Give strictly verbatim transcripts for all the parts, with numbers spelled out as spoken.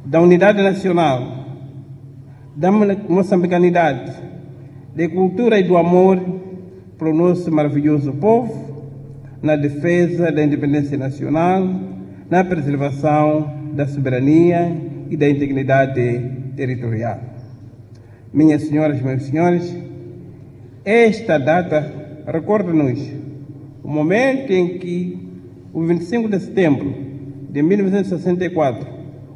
da unidade nacional, da moçambicanidade, da cultura e do amor para o nosso maravilhoso povo, na defesa da independência nacional, na preservação da soberania e da integridade territorial. Minhas senhoras, meus senhores, esta data recorda-nos o momento em que, o vinte e cinco de setembro de mil novecentos e sessenta e quatro,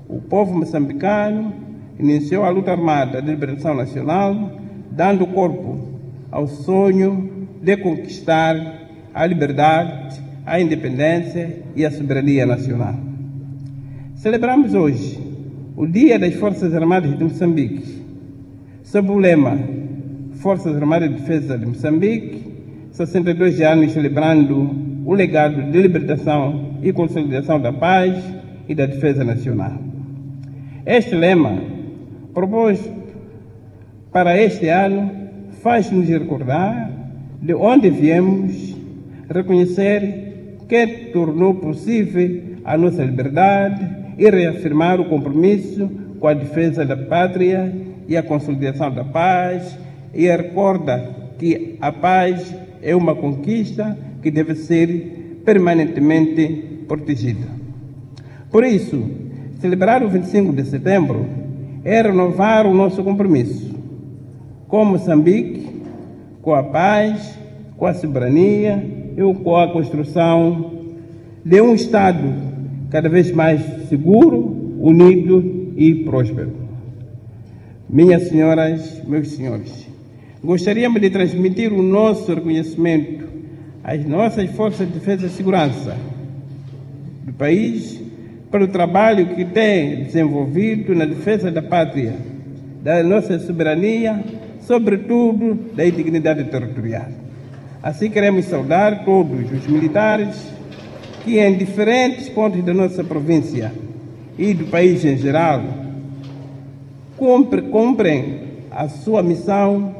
o povo moçambicano iniciou a luta armada de libertação nacional, dando corpo ao sonho de conquistar a liberdade, a independência e a soberania nacional. Celebramos hoje o Dia das Forças Armadas de Moçambique, sob o lema Forças Armadas de Defesa de Moçambique, sessenta e dois anos celebrando o legado de libertação e consolidação da paz e da defesa nacional. Este lema, proposto para este ano, faz-nos recordar de onde viemos, reconhecer que tornou possível a nossa liberdade e reafirmar o compromisso com a defesa da pátria e a consolidação da paz, e recorda que a paz é uma conquista que deve ser permanentemente protegida. Por isso, celebrar o vinte e cinco de setembro é renovar o nosso compromisso com Moçambique, com a paz, com a soberania e com a construção de um Estado cada vez mais seguro, unido e próspero. Minhas senhoras, meus senhores, gostaríamos de transmitir o nosso reconhecimento às nossas forças de defesa e segurança do país pelo trabalho que têm desenvolvido na defesa da pátria, da nossa soberania, sobretudo da integridade territorial. Assim, queremos saudar todos os militares que em diferentes pontos da nossa província e do país em geral cumprem a sua missão,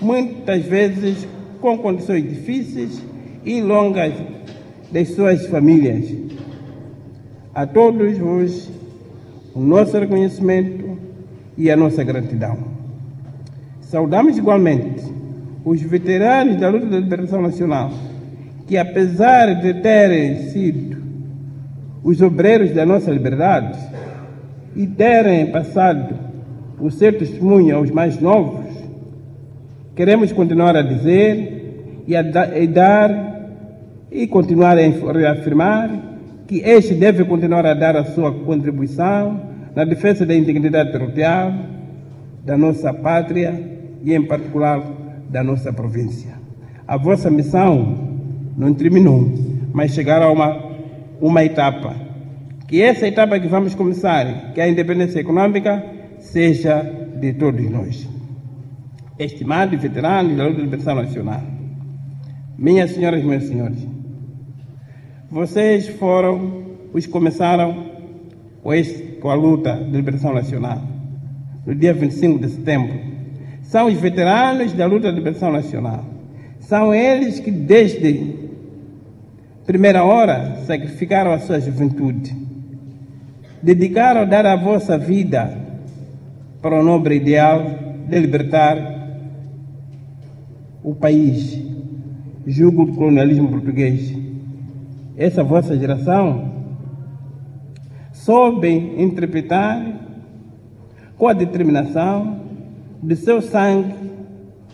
muitas vezes com condições difíceis e longas das suas famílias. A todos vos, o nosso reconhecimento e a nossa gratidão. Saudamos igualmente os veteranos da luta da libertação nacional, que apesar de terem sido os obreiros da nossa liberdade e terem passado o seu testemunho aos mais novos, queremos continuar a dizer e a da, e dar e continuar a reafirmar que este deve continuar a dar a sua contribuição na defesa da integridade territorial da nossa pátria e, em particular, da nossa província. A vossa missão não terminou, mas chegará a uma, uma etapa. Que essa etapa que vamos começar, que é a independência econômica, seja de todos nós. Estimados veteranos da luta de libertação nacional, minhas senhoras e meus senhores, vocês foram os que começaram com, este, com a luta de libertação nacional, no dia vinte e cinco de setembro. São os veteranos da luta de libertação nacional. São eles que, desde primeira hora, sacrificaram a sua juventude, dedicaram a dar a vossa vida para o nobre ideal de libertar o país, jugo do colonialismo português. Essa vossa geração soube interpretar com a determinação de seu sangue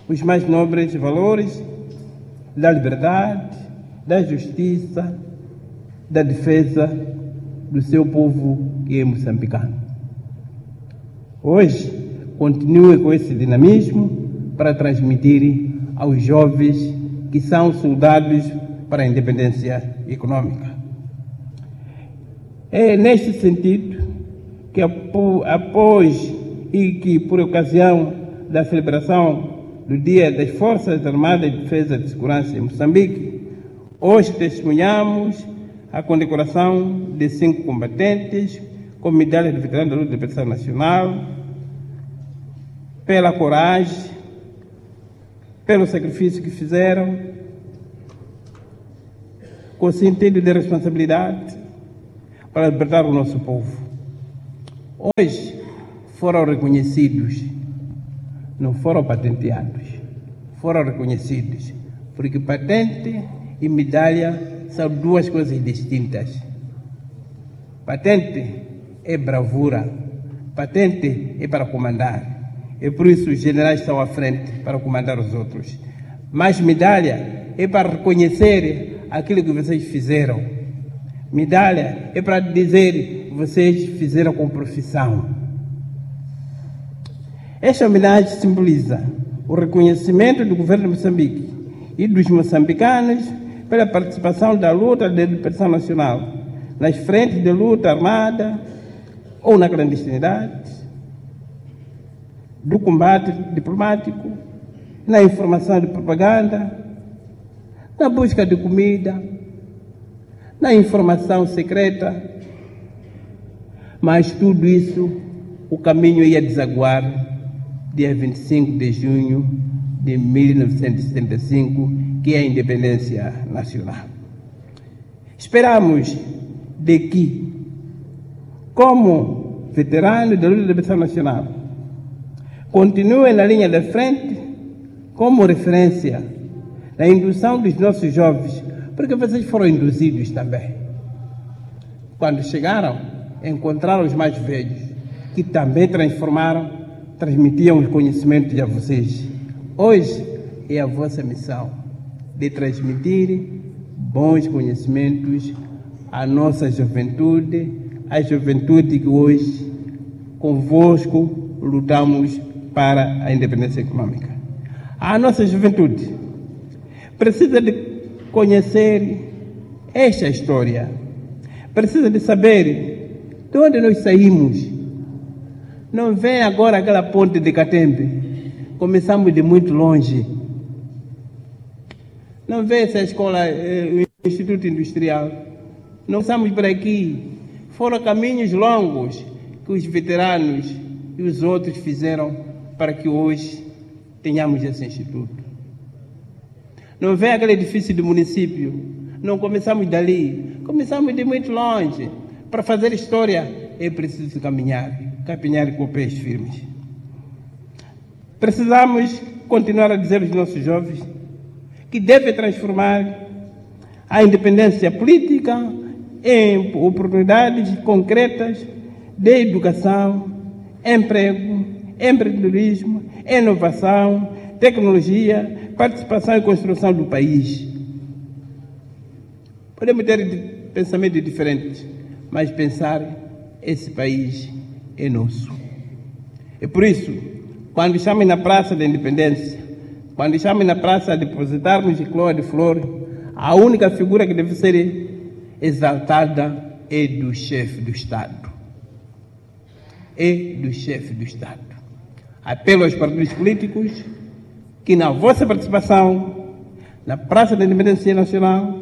os mais nobres valores da liberdade, da justiça, da defesa do seu povo que é moçambicano. Hoje, continue com esse dinamismo para transmitir aos jovens que são soldados para a independência econômica. É neste sentido que, após e que, por ocasião da celebração do Dia das Forças Armadas de Defesa e Segurança em Moçambique, hoje testemunhamos a condecoração de cinco combatentes com medalha de veterano da luta de libertação nacional, pela coragem, pelo sacrifício que fizeram, com sentido de responsabilidade para libertar o nosso povo. Hoje foram reconhecidos, não foram patenteados, foram reconhecidos, porque patente e medalha são duas coisas distintas. Patente é bravura, patente é para comandar. E por isso os generais estão à frente para comandar os outros. Mas medalha é para reconhecer aquilo que vocês fizeram. Medalha é para dizer que vocês fizeram com profissão. Esta homenagem simboliza o reconhecimento do governo de Moçambique e dos moçambicanos pela participação da luta de libertação nacional nas frentes de luta armada ou na clandestinidade, do combate diplomático, na informação de propaganda, na busca de comida, na informação secreta. Mas tudo isso, o caminho ia desaguar dia vinte e cinco de junho de mil novecentos e setenta e cinco, que é a independência nacional. Esperamos de que, como veterano da luta de libertação nacional, continuem na linha da frente como referência na indução dos nossos jovens, porque vocês foram induzidos também. Quando chegaram, encontraram os mais velhos, que também transformaram, transmitiam os conhecimentos a vocês. Hoje é a vossa missão de transmitir bons conhecimentos à nossa juventude, à juventude que hoje, convosco, lutamos para a independência econômica. A nossa juventude precisa de conhecer esta história, precisa de saber de onde nós saímos. Não vem agora aquela ponte de Catembe, começamos de muito longe. Não vem essa escola, o Instituto Industrial, não estamos por aqui. Foram caminhos longos que os veteranos e os outros fizeram para que hoje tenhamos esse instituto. Não vem aquele edifício do município, não começamos dali, começamos de muito longe. Para fazer história é preciso caminhar, caminhar com pés firmes. Precisamos continuar a dizer aos nossos jovens que devem transformar a independência política em oportunidades concretas de educação, emprego, empreendedorismo, inovação, tecnologia, participação e construção do país. Podemos ter pensamentos diferentes, mas pensar esse país é nosso. E por isso, quando estamos na Praça da Independência, quando estamos na praça a depositarmos coroa de flor, a única figura que deve ser exaltada é do chefe do Estado. É do chefe do Estado. Apelo aos partidos políticos que na vossa participação na Praça da Independência Nacional,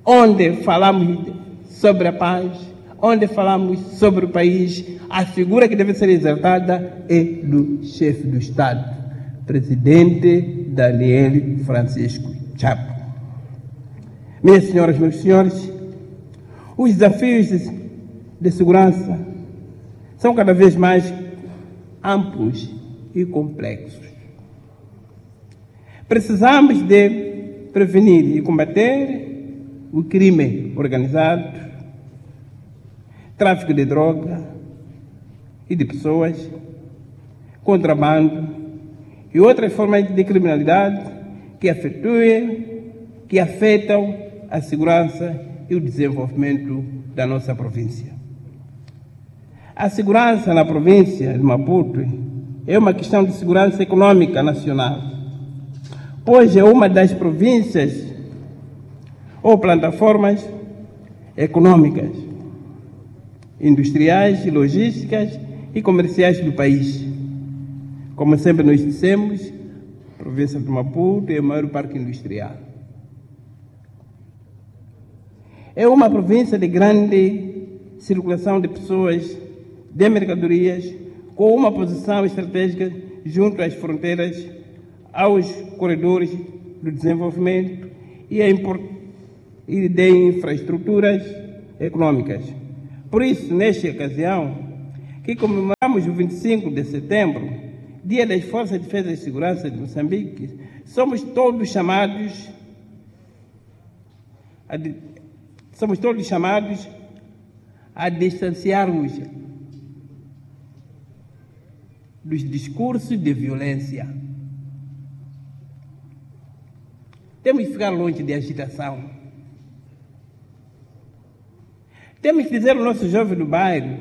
onde falamos sobre a paz, onde falamos sobre o país, a figura que deve ser exaltada é do chefe do Estado, presidente Daniel Francisco Chapo. Minhas senhoras, meus senhores, os desafios de, de segurança são cada vez mais amplos e complexos. Precisamos de prevenir e combater o crime organizado, tráfico de droga e de pessoas, contrabando e outras formas de criminalidade que afetuem, que afetam a segurança e o desenvolvimento da nossa província. A segurança na província de Maputo é uma questão de segurança econômica nacional, pois é uma das províncias ou plataformas econômicas, industriais, logísticas e comerciais do país. Como sempre nós dissemos, a província de Maputo é o maior parque industrial. É uma província de grande circulação de pessoas, de mercadorias, com uma posição estratégica junto às fronteiras, aos corredores do desenvolvimento e, a import... e de infraestruturas econômicas. Por isso, nesta ocasião, que comemoramos o vinte e cinco de setembro, Dia das Forças de Defesa e Segurança de Moçambique, somos todos chamados a, somos todos chamados a distanciarmos dos discursos de violência. Temos que ficar longe de agitação. Temos que dizer ao nosso jovem do bairro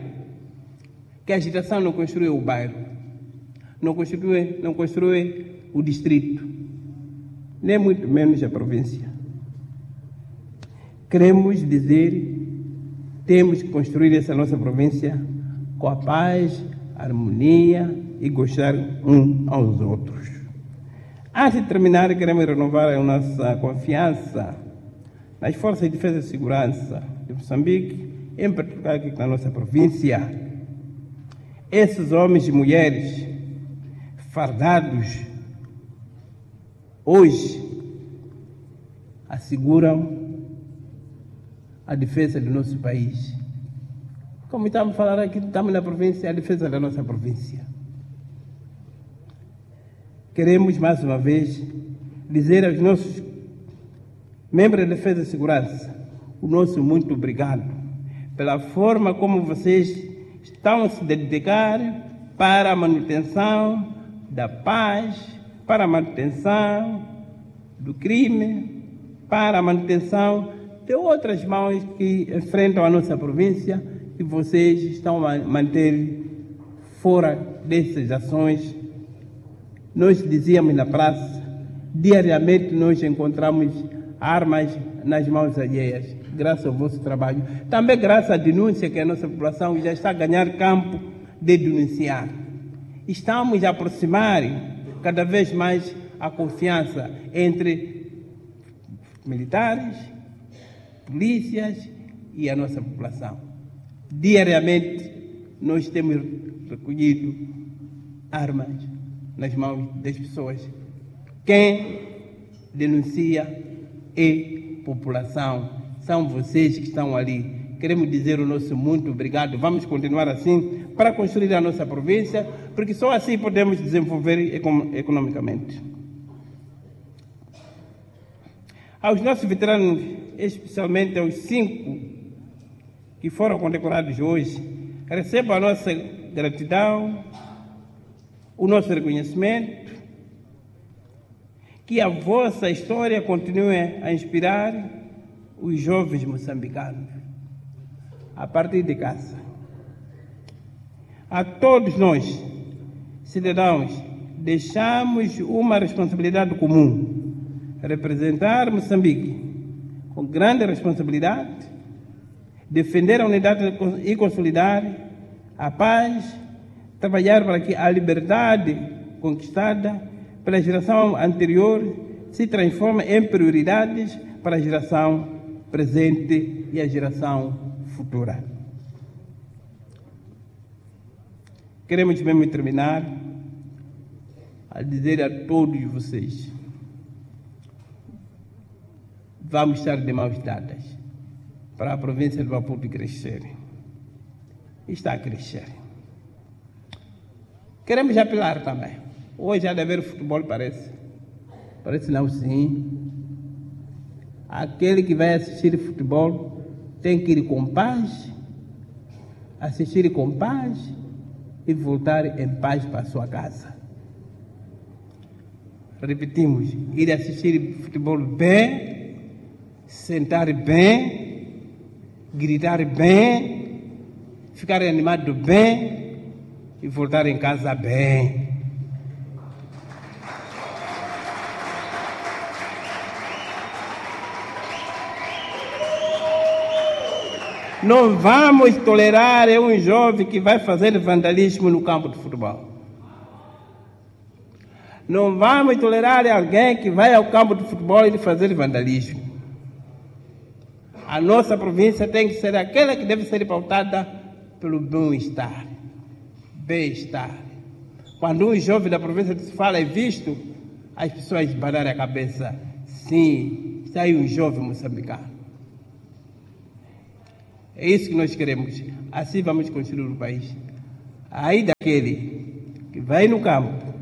que a agitação não construi o bairro, não construi, não construi o distrito, nem muito menos a província. Queremos dizer, temos que construir essa nossa província com a paz, harmonia e gostar uns aos outros. Antes de terminar, queremos renovar a nossa confiança nas Forças de Defesa e Segurança de Moçambique, em particular aqui na nossa província. Esses homens e mulheres fardados hoje asseguram a defesa do nosso país. Como estamos a falar aqui, estamos na província, a defesa da nossa província. Queremos, mais uma vez, dizer aos nossos membros da Defesa e Segurança o nosso muito obrigado pela forma como vocês estão a se dedicar para a manutenção da paz, para a manutenção do crime, para a manutenção de outras mãos que enfrentam a nossa província, e vocês estão a manter fora dessas ações. Nós dizíamos na praça, diariamente nós encontramos armas nas mãos alheias, graças ao vosso trabalho. Também graças à denúncia que a nossa população já está a ganhar campo de denunciar. Estamos a aproximar cada vez mais a confiança entre militares, polícias e a nossa população. Diariamente nós temos recolhido armas nas mãos das pessoas. Quem denuncia é população, são vocês que estão ali. Queremos dizer o nosso muito obrigado. Vamos continuar assim para construir a nossa província, porque só assim podemos desenvolver economicamente. Aos nossos veteranos, especialmente aos cinco que foram condecorados hoje, recebam a nossa gratidão, o nosso reconhecimento, que a vossa história continue a inspirar os jovens moçambicanos a partir de casa. A todos nós, cidadãos, deixamos uma responsabilidade comum: representar Moçambique com grande responsabilidade, defender a unidade e consolidar a paz, trabalhar para que a liberdade conquistada pela geração anterior se transforme em prioridades para a geração presente e a geração futura. Queremos mesmo terminar a dizer a todos vocês: vamos estar de mãos dadas para a província de Maputo crescer. Está a crescer. Queremos apelar também. Hoje há de haver futebol, parece. Parece não, sim. Aquele que vai assistir futebol tem que ir com paz, assistir com paz e voltar em paz para a sua casa. Repetimos, ir assistir futebol bem, sentar bem, gritar bem, ficar animado bem e voltar em casa bem. Não vamos tolerar um jovem que vai fazer vandalismo no campo de futebol. Não vamos tolerar alguém que vai ao campo de futebol e fazer vandalismo. A nossa província tem que ser aquela que deve ser pautada pelo bem-estar. Bem-estar. Quando um jovem da província se fala é visto, as pessoas banarem a cabeça. Sim, está aí um jovem moçambicano. É isso que nós queremos. Assim vamos construir o país. Aí daquele que vai no campo,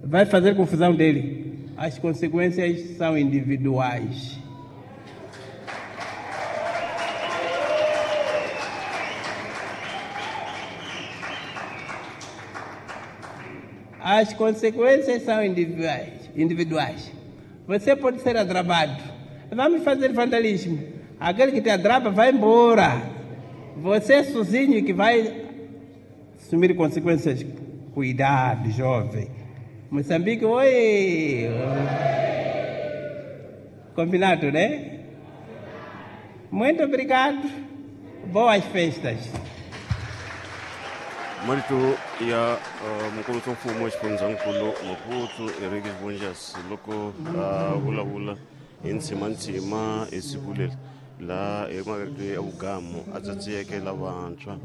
vai fazer confusão dele, as consequências são individuais. As consequências são individuais. individuais. Você pode ser adrabado. Vamos fazer vandalismo. Aquele que te adraba vai embora. Você sozinho que vai assumir consequências. Cuidado, jovem. Moçambique, oi! Combinado, né? Muito obrigado. Boas festas. Marito ya mukulu mfumo xifundzankulu Maputo Henrique Vunjas loko a vulavula hi ntsimantsima hi siku leri laha emakete ya vugamu a tsatsiyeke lavantshwa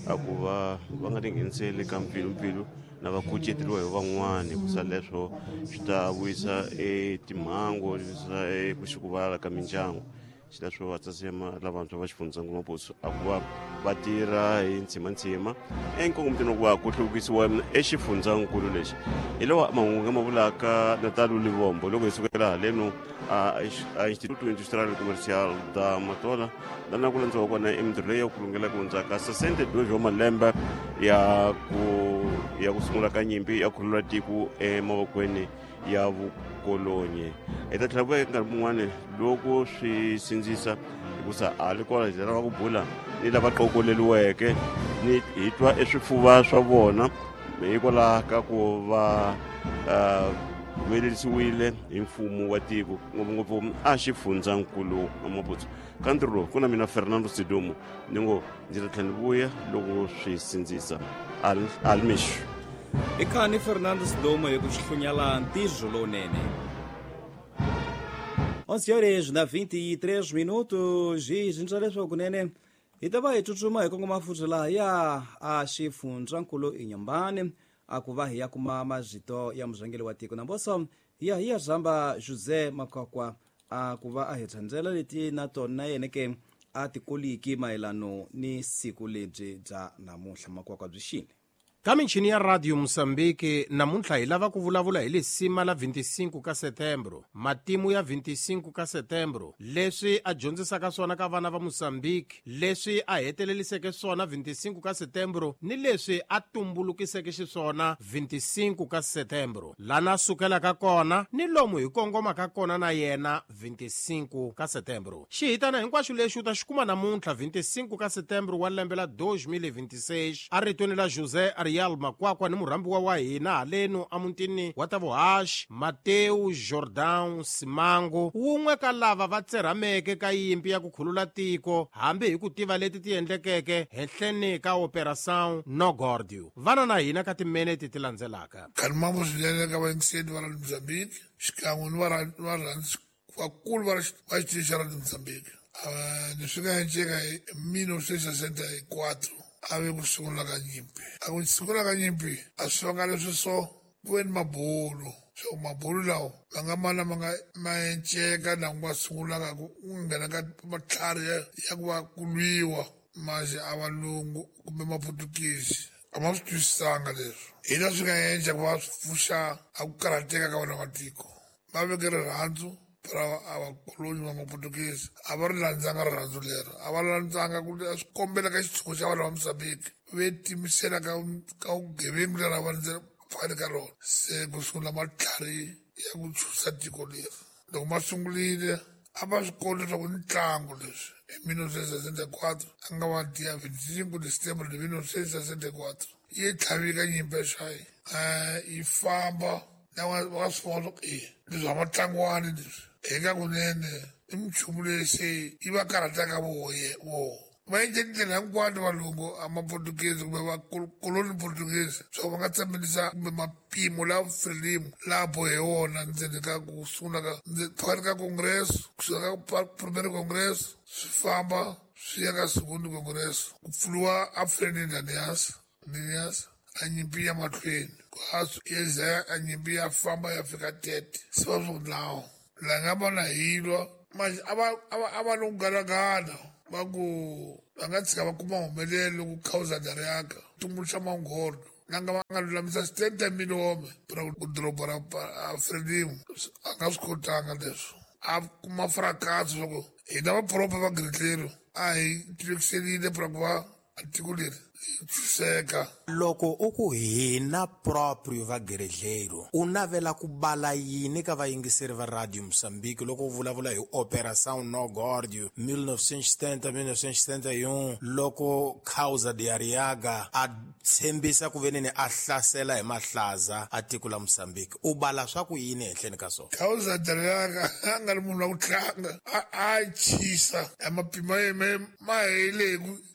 a ku va va nga tingheniseli ka mpfilumpfilu na va kuceteriwa hi van'wani hikusa leswo swi ta vuyisa etimhangu vuyisa eku xikuvala ka mindyangu. Xileswo va tsatsema lavantshwa va xifundzankulu Maputo a ku va va tirha hi ntsimantsima enkongomitweni ku va ku hluvukisiwa exifundzankulu lexi. Hi lawa mahungu ma vulaka Natal Livombo loko hi sukela haleno a Instituto Industrial Comercial da Matola lana ku landziwa kona emintirho leyi ya ku lungela ku hundzaka sessenta e dois wa malembe ya ku ya ku sungula ka nyimpi ya khulula tiko emavokweni ya vukolonyi. Hi ta tlhela vuya nkarhi mun'wani loko swi sindzisa hikusa a li kona hi lava ku bula ni lava qokoleliweke ni hi twa eswifuva swa vona hikwalaho ka ku va humelerisiwile hi mfumo wa tiko ngopfungopfu a xifundzankulu Maputo. Ka ntirho lowu ku na mina Fernando Sidumo ni ngo ndzi ta tlhela ni vuya loko swi sindzisa. Almixo. I khani Fernando Sidumo hi ku xihlunyala ntirho lowunene. onze horas na vinte e três minutos e zintswa leswaku kunene hi ta va hi tsutsuma hi kongoma futhi laha ya a xifundzankulu Inhambane a ku va hi ya kuma mazito ya murhangeri wa tiko namboso hi ya hi ya zamba José Makwakwa a ku va a hi tsandzela leti na tona yena ke a tikoliki mayelano ni siku lebyi bya namuntlha. Makwakwa byi xini ka michini ya Radio Mozambique namuntlha hi lava ku vulavula hi lisima la vinte e cinco ka setembro, matimu ya vinte e cinco ka setembro, leswi a dyondzisaka swona ka vana va Mozambique, leswi a heteleliseke swona vinte e cinco ka setembro ni leswi a tumbulukiseke xiswona vinte e cinco ka setembro, lana sukelaka kona ni lomu hi kongomaka kona na yena vinte e cinco ka setembro. Xihitana hinkwaxo lexi u ta xi kuma namuntlha vinte e cinco ka setembro wa lembe la dois mil e vinte e seis aritweni la José Ariel Makwakwa ni murhambiwa wa hina haleno emutini wa Tavuhaxi Mateu Jordan Simango, wun'we ka lava va tserhameke ka yimpi ya ku khulula tiko hambi hi ku tiva leti ti endlekeke henhleni ka Operação Nogordio. Vana na hina ka timinete ti landzelaka. Kalmambo swinene ka vayingiseri va Radio Mozambique xikan'we ni varhandzi vakulu va xitichi xa Radio Mozambique. Leswi nga endleka hi mille novecentos e sessenta e quatro a ve ku sungula ka nyimpi. A ku sungula ka nyimpi a swi vanga leswi so ku ve ni mabulu. So mabulu lawa ma nga mana ma nga ma enceka na ku va sungulaka ku nghena ka matlhari ya ku va ku lwiwa manje a valungu kumbe maputukisi a ma swi twisisanga leswi. Hi leswi swi nga endla ku va swi pfuxa a ku karhateka ka vana matiko. Va veke rirhandzu ra a vakoloni va maputukisi a va ri landzanga rirhandzu leri, a va landzanga ku swi kombela ka xitshungu xa vanhu va Mozambique ve timisela ka ka vugevengu leri a va phakathi ka rona. Se ku sungula matlhari ya ku chusa tiko leri. Loko ma sungurile a va swi koti leswaku i ntlangu leswi. Hi mille novecentos e sessenta e quatro a nga va dia vinte e cinco de setembro de mille novecentos e sessenta e quatro yi tlhavika nyimpi ya xayi yi famba na va swi vona swa ku e leswi a matlangwani leswi hi nga kunene i minchumu leyi se yi va karhataka voye vo va endle tindlela hinkwato valungu a maportuguese kumbe vakoloni portuguese swa ku va nga tsemelisa kumbe mapimo lawa Frelimo laha bohe wona ndzeni ka ku sungula ka phakathi ka congress kusuka ka primero congress swi famba swi ya ka segundo congress ku pfuriwa a Ferdinand Nias Nias a nyimpi ya mahlweni ya za a nyimpi ya famba ya fika tete se va swi lawo la nga vona hi lwa manje a va a va a va no galagala va ku va nga tshika va kuma humelelo ku khawuza dariyaka tumbuluxa manghondo Langa va nga lulamisa setenta mil home para ku doroba ra Frelimo a nga swi kotanga leswo a kuma fracasso swa ku hina vapropa va Gridlero a hi tivekiselile para ku va tiko leri ntshunxeka. Loko u ku hina proprio va Guerrilheiro u navela ku bala yini ka vayingiseri va Radio Mozambique loko u vulavula hi Operação Nó Górdio mil novecentos e setenta mil novecentos e setenta e um loko Causa de Arriaga a tshembisa ku veneni a hlasela hi mahlaza a tiko la Mozambique u bala swa ku yini ehenhleni ka swona? Causa de Arriaga a nga ri munhu wa ku tlanga a a chisa a mapima yena ma hele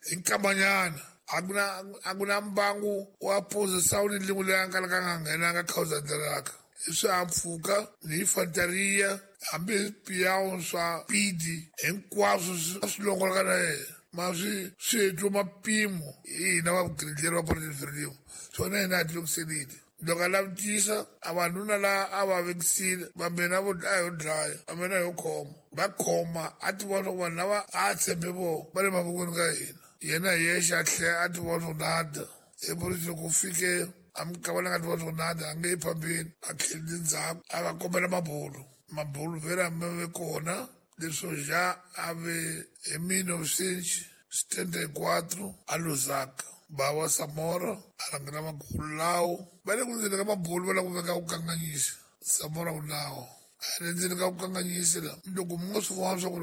hi nkambanyana a ku na a ku na mbangu wa posição ni lin'we leyi a nga ka nga nghenanga Causa de Arriaga i swihahampfhuka ni infanteria hambi hi swipiyawu swa pidi hinkwaswo swi longoloka na yena ma swi swi hetiwe mapimo hi hina va Guerrilheiro va Partido Frelimo swona hina a ti lokiselile loko a lavutisa a vanhuna laha a va vekisile va mina vo a yo dlaya va mina yo khoma va khoma a ti vona swa ku vanhu lava a tshembe vona va le mavokweni ka hina yena hi yexe a tlhela a ti vona swa nada epolisi loko fike a mikava nga ti vona swa nada a nge yi phambeni a tlheleli ndzhaku a va kombela mabulu mabulu vele a ve kona leswo ja a ve hi mil novecentos setenta e quatro a Lusaka Bawa Samora a rhangela mabulu lawo va le ku ndzeni ka mabulu va lava ku veka ku kanganyisa Samora u nawo a le ndzeni ka ku kanganyisa la loko mi nga swi vona swa ku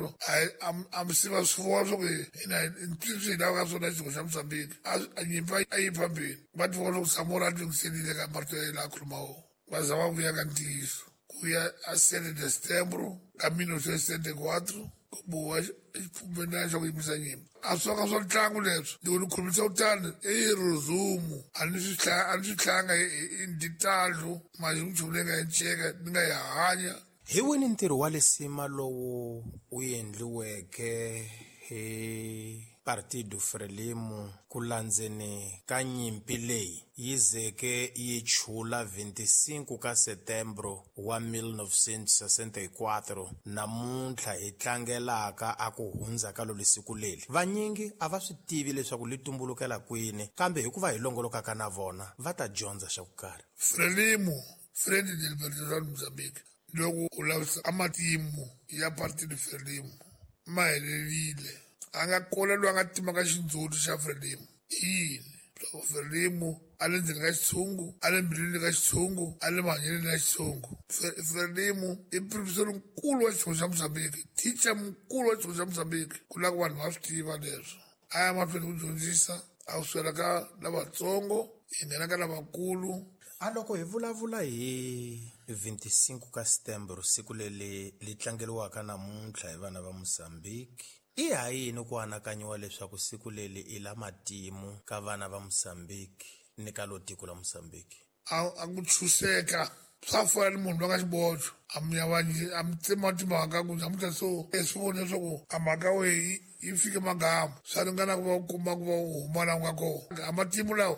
a mi siva swi vona swa ku hina ntswitsi hi lavaka swona xidingo xa Mozambique a nyimpi a yi phambeni va ti vona swa ku Samora a tlungiselile ka marito ya yena a khuluma wona va za va vuya ka ntiyiso ku ya a sete de setembro ka mil novecentos setenta e quatro ku boha xipfumelana xa ku yimisa nyimpi a swi vanga swa ntlangu leswo loko ni khulumisa kutani i resumo a ni swi a ni swi hlanga hi nditalo mali nchumu leyi nga yi nceka ni nga yi hanya. Hi wini ntirho wa lisima lowu u endliweke hi Partido Frelimo ku landzeni ka nyimpi leyi yi zeke yi chula vinte e cinco ka setembro wa mil novecentos e sessenta e quatro namuntlha hi tlangelaka a ku hundza ka lolo siku leri vanyingi a va swi tivi leswaku li tumbulukela kwini kambe hikuva hi longolokaka na vona va ta dyondza xa ku karhi. Frelimo Frente de Libertação de Mozambique loko u lavisa a matimu ya Partido Frelimo ma helerile a nga kona loyi a nga timaka xindzhuti xa Frelimo i yini loko Frelimo a le ndzeni ka xitshungu a le mbilwini ka xitshungu a le mahanyelweni ya xitshungu. Frelimo i professor nkulu wa xitshungu xa Mozambique teacher mukulu wa xitshungu xa Mozambique ku lava ku vanhu va swi tiva leswo a ya mahlweni ku dyondzisa a kusukela ka lavatsongo hi nghena ka lavakulu. A loko hi vulavula hi vinte e cinco ka setembro siku leri li tlangeriwaka namuntlha hi vana va Mozambique i ha yini ku anakanyiwa leswaku siku leri i la matimu ka vana va Mozambique ni ka lo tiko la Mozambique? A a ku tshuseka swa fana ni munhu loyi a nga xibocho a mi yavanyisi a mi tsema timhaka ku namuntlha so e swi vone leswaku a mhaka wehe yi fike magamu swa ringana ku va u kuma ku va u huma laha u nga kona a matimu lawa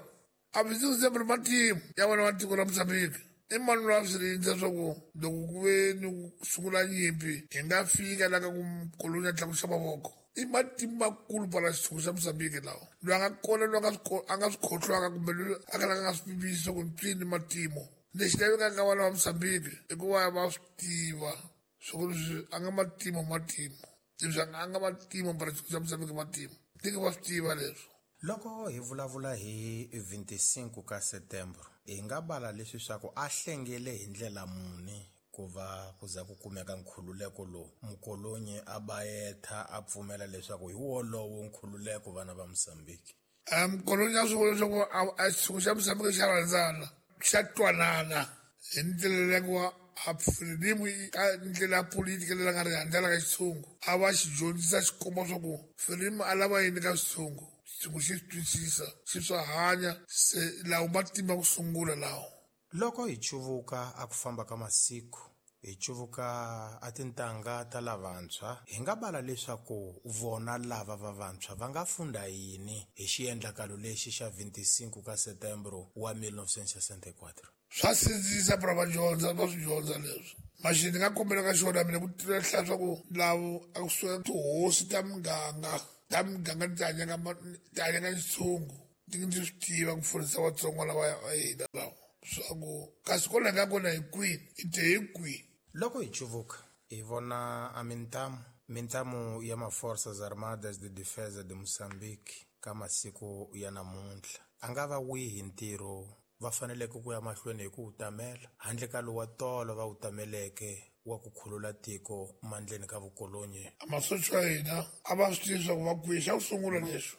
a vinte e cinco setembro matimu ya vana va tiko ra Mozambique i mani loyi a swi rindza swa ku loko ku ve ni ku sungula nyimpi hi nga fika la ka ku kolonya tlakusa mavoko i matimu makulu para xitshungu xa Mozambique lawa loyi a nga kona loyi a nga swi a nga swi khohlwaka kumbe loyi a kalaka a nga swi pimisi ku ncini matimu lexi lavekaka ka vana va Mozambique i ku va va swi tiva swa ku leswi a nga matimu matimu leswi a nga matimu para xitshungu xa Mozambique matimu tiki va swi tiva leswo. Loko hi vulavula hi vinte e cinco ka setembro hi nga bala leswi swa ku a hlengele hi ndlela muni ku va ku za ku kumeka nkhululeko lowu mukolonyi a bayetha a pfumela leswaku hi wolowo nkhululeko vana va Mozambique. A mukolonyi a swi vona leswaku a xitshungu xa Mozambique xa rhandzana xa twanana hi ndlela leyi ku a Frelimo ka ndlela ya politika leyi nga ri rhandzela ka xitshungu a va xi dyondzisa xi komba swa ku Frelimo a lava yini ka xitshungu xitshungu xi swi twisisa xi swa hanya se lawo matimba ku sungula lawo. Loko hi cuvuka a ku famba ka masiku hi cuvuka a tintangha ta lavantshwa hi nga bala leswaku vona lava va vantshwa va nga funda yini hi xiendlakalo lexi xa vinte e cinco ka setembro wa mil novecentos e sessenta e quatro? Swa sindzisa para va dyondza va swi dyondza leswo maxi ni nga kombela ka xona mina ku tiva hlaya swa ku lavo a kusuka tihosi ta muganga ta muganga ti hanyaka ti hanyaka xitshungu Ndzi ndzi swi tiva ku pfunisa Vatsonga lava va hina lawa swa ku kasi kwala nga kona hi kwini i te hi kwihi. Loko hi cuvuka hi vona a mintamu mintamu ya ma-Forças Armadas de Defesa de Moçambique ka masiku ya namuntlha a nga va wihi ntirho va faneleke ku ya mahlweni hi ku wu tamela handle ka lowa tolo va wu tameleke wa ku khulula tiko mandleni ka vukolonyi. Masocha ya hina a va swi tivi swa ku va kwihi. Xa ku sungula leswo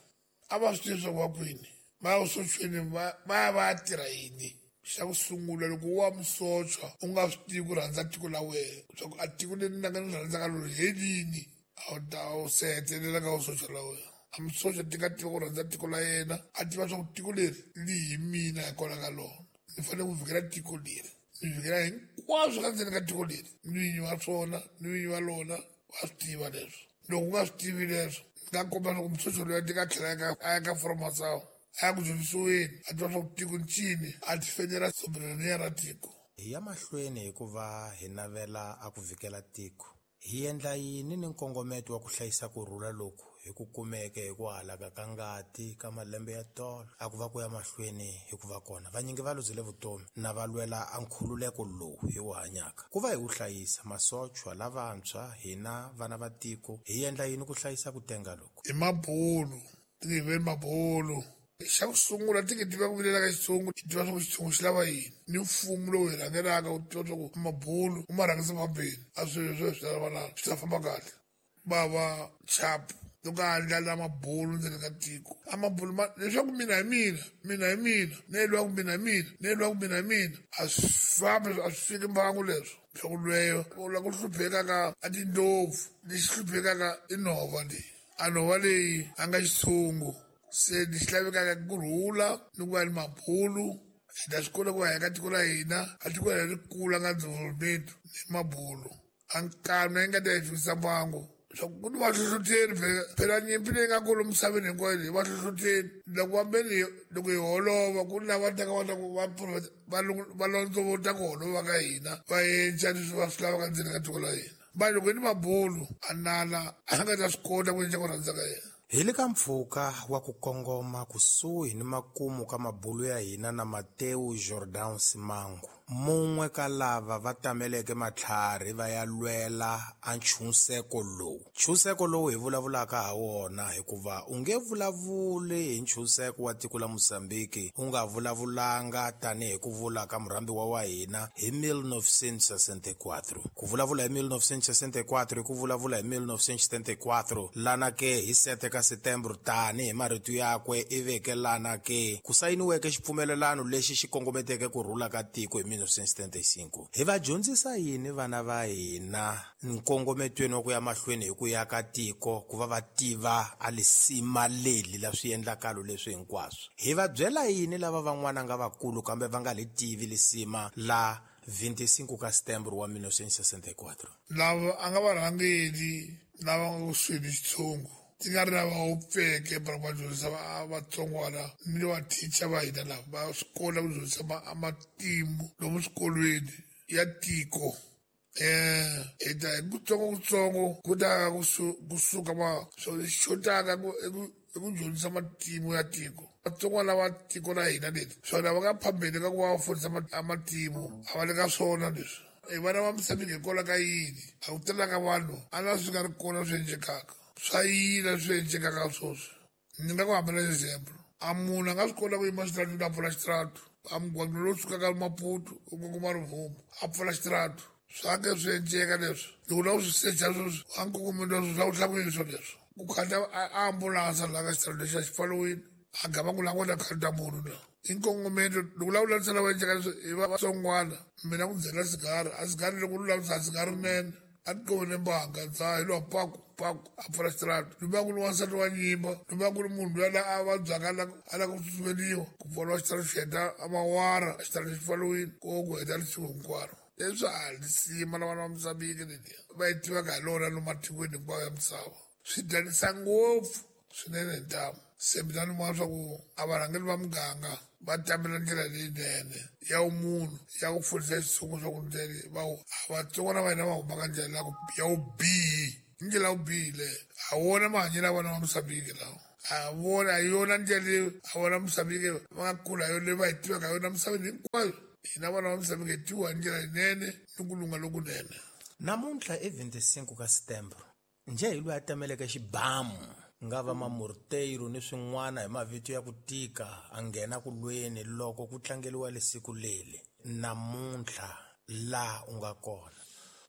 a va swi tivi swa ku va kwini, va ya vusochweni va ya va ya tirha yini. Xa ku sungula loko wa musocha u nga swi tivi ku rhandza tiko la wena swa ku a tiko leri ni nga ni rhandzaka lori hi lini, a wu ta wu se hetelela ka vusocha la wena. A musocha ti nga tiva ku rhandza tiko la yena, a tiva swa ku tiko leri li hi mina hikwalaho ka lona, ni fanele ku vikela tiko leri, ni vikela hinkwaswo ka ndzeni ka tiko leri, ni vinyi wa swona ni vinyi wa lona va swi tiva leswo. Loko u nga swi tivi leswo, ni nga komba swa ku musocha loyi a ti nga tlhela a ya ka formasawo a ya ku dyondzisiweni, a tiva swa ku tiko ncini, a tifendela soberania ra tiko. Hi ya mahlweni hikuva hi navela a ku vikela tiko, hi endla yini ni nkongometo wa ku hlayisa ku rhula loku hi ku kumeke hi ku halaka ka ngati ka malembe ya tolo a ku va ku ya mahlweni hi ku va kona vanyingi va luzile vutomi na va lwela a nkhululeko lowu hi wu hanyaka ku va hi wu hlayisa. Masochwa lavantshwa hina vana va tiko hi endla yini ku hlayisa ku tenga loku? I mabulu ti nge veni mabulu. Xa ku sungula ti nge tiva ku vilela ka xitshungu, i tiva swa ku xitshungu xi lava yini, ni mfumo lowu hi rhangelaka u tiva swa ku mabulu u ma rhangisa phambeni, a swilo leswi swi ta lava swi ta famba kahle. Bava chapu loko a andlala mabulu ndzeni ka tiko, a mabulu ma leswaku mina hi mina, mina hi mina, ne lwa ku mina hi mina, ne lwa ku mina hi mina, a swi fambi, a swi fiki mbangu leswo. Swa ku lweyo u lava ku hluphekaka a tindlopfu, lexi hluphekaka i nhova leyi, a nhova leyi a nga xitshungu. Se lexi lavekaka ku rhula ni ku va ni mabulu, hi ta swi kota ku va hi ka tiko la hina, a tiko la ri kula nga development ni mabulu. A nkanu yi nga ta hi fikisa mbangu. Swa ku ni vahlohloteri phela phela nyimpi leyi nga kona misaveni hinkwayo leyi vahlohloteri loko vambeni loko hi holova ku ni lava taka va ta ku va va va londzovota ku holova ka hina va endla leswi va swi lavaka ndzeni ka tiko la hina. Va loko hi ni mabulu a nala a nga ta swi kota ku endla ku rhandza ka yena. Hi le ka mpfhuka wa ku kongoma kusuhi ni makumu ka mabulu ya hina na Mateo Jordan Simango, mun'we ka lava va tameleke matlhari va ya lwela a nchunseko lowu. Nchunseko lowu hi vulavulaka ha wona hikuva u nge vulavuli hi nchunseko wa tiko la Mozambique u nga vulavulanga tanihi ku vula ka murhambiwa wa hina hi mil novecentos e sessenta e quatro. Ku vulavula hi mil novecentos e sessenta e quatro i ku vulavula hi mil novecentos e setenta e quatro lana ke hi sete ka Setembro tani hi marito yakwe i veke lana ke ku sayiniweke xipfumelelano lexi xi kongometeke ku rhula ka tiko hi mil novecentos e setenta e cinco. Hi va dyondzisa yini vana va hina nkongometweni wa ku ya mahlweni hi ku ya ka tiko ku va va tiva a lisima leli la swiendlakalo leswi hinkwaswo? Hi va byela yini lava van'wana nga vakulu kambe va nga li tivi lisima la vinte e cinco ka Setembro wa mil novecentos e sessenta e quatro? Lava a nga varhangeli lava nga kusuhi ni xitshungu ti nga ri lava wupfeke va va dyondzisa vatsongwana ni vathicha va hina lava va swi kota ku dyondzisa matimu lomu swikolweni ya tiko. Um hi ta hi kutsongokutsongo ku ta kusuka ma swo xotaka i ku dyondzisa matimu ya tiko. Vatsongwana lava tiko la hina leri swona va nga phambeni ka ku va va fundisa matimu a va le ka swona leswi. Hi vana va Mozambique hikwalaho ka yini a ku tala ka vanhu a na swi nga ri kona swi endlekaka swa yila swi endlekaka sweswi. Ni nga ku hambela example, a munhu a nga swi kota ku yima xitarateni a pfula xitaratu, a mugwaqo lowu sukaka Maputo u kongoma Rivumbu a pfula xitaratu, swa ke swi endleka leswi. Loko u lava ku swi secha sweswi a nkongometo wa sweswi swa ku hlakuyini swo leswi ku khata a ambulanse laha ka xitaratu lexi a xi pfariwile a gama ku languta khata munhu la i nkongometo. Loko u lava ku landzisa lava endleka leswi hi vatsongwana mina ku byela sigara a sigara loko u lulamisa a sigara rinene a ti qovene mbanga dzaha hi lowa paku paku a pfula xitaratu. Loko ku ri wansati wa nyimba, loko ku ri munhu loyi a vabyaka a lava ku tsutsumeliwa ku pfariwa xitaratu xi heta mawara xitaratu xi pfariwile ko ku heta lisiku hinkwaro. Leswi a lisima la vana va Mozambique leliya va yi tivaka hi lona lomu matikweni hinkwayo ya misava swi dyanisa ngopfu swinene hi ntamu. Se mina ni vona swa ku a varhangeri va muganga va tamela ndlela leyinene ya vumunhu ya ku fundisa xitshungu swa ku ndlela va vatsongwana va hina va humaka ndlela ya vubihi, i ndlela ya vubihi leyo. A wona mahanyelo ya vana va Mozambique lawa, A vona hi yona ndlela leyi a vona Mozambique va nga kula hi yona leyi va hi tivaka hi yona misaveni hinkwayo. Hina vana va Mozambique hi tiviwa hi ndlela yinene ni ku lungha lokunene. Namuntlha i vinti-cinco ka Setembro njhe hi loyi a tameleke xibamu nga va mamorteiro ni swin'wana hi mavito ya ku tika a nghena ku lweni loko ku tlangeliwa lesiku leli. Namuntlha laha u nga kona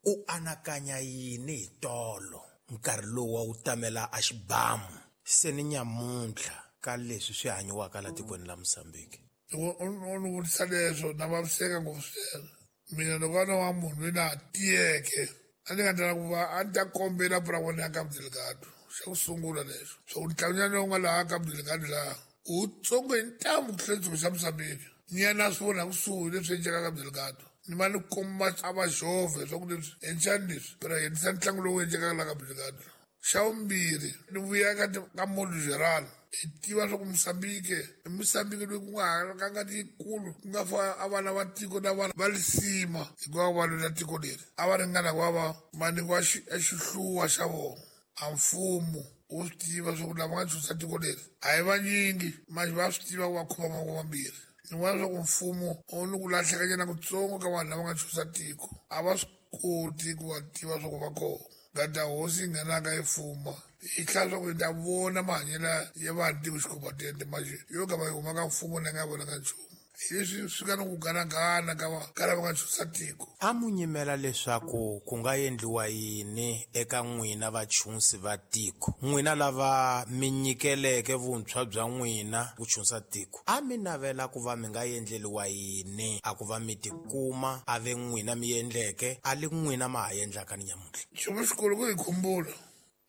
u anakanya yini hi tolo nkarhi lowu wa wu tamela a xibamu se ni nyamuntlha ka leswi swi hanyiwaka la tikweni la Mozambique? Loko u ni vutisa leswo na vaviseka ngopfu swinene. Mina loko a no va munhu loyi na ha tiyeke a ni nga tala ku va a ni ta kombela pura ya Cabo Delgado. Xa ku sungula leswo swa ku ntlanganyana lowu nga laha Cabo Delgado laha wu tsongo hi ntamu ku tlula xitshungu xa Mozambique. Ni ya na swi vona kusuhi leswi endlekaka Cabo Delgado. Ni va ni komba a va jove swa ku leswi endlani leswi phela hi endlisa ntlangu lowu endlekaka laha Cabo Delgado. Xa vumbirhi ni vuya ka ka modo geral hi tiva swa ku Mozambique i Mozambique loyi ku nga halakanga yikulu ku nga fa a vana va tiko na vana va lisima hikuva va lwela tiko leri a va ringana ku va va va nyikiwa xihluwa xa vona. A mfumo wu swi tiva swa ku lava nga chusa tiko leri a hi vanyingi manje va swi tiva ku va khoma mavoko mambirhi. Ni vona swa ku mfumo wu ni ku lahlekanyana kutsongo ka vanhu lava nga chusa tiko a va swi koti ku va tiva swa ku va kona. Ngata hosi yi nghenaka yi fuma yi hlaya swa ku yi ta vona mahanyelo ya vanhu tiko xikhombatende manje yo ka va yi huma ka mfumo na nga vonaka nchumu. Hi leswi swi nga ni ku ganagana ka va ka lava nga chusa tiko. A mu nyimela leswaku ku nga endliwa yini eka n'wina vachunsi va tiko, n'wina lava mi nyikeleke vuntshwa bya n'wina ku chunsa tiko, a mi navela ku va mi nga endleliwa yini a ku va mi tikuma a ve n'wina mi endleke a li n'wina ma ha endlaka ni nyamuntlha? Nchumu xikulu ku hi khumbula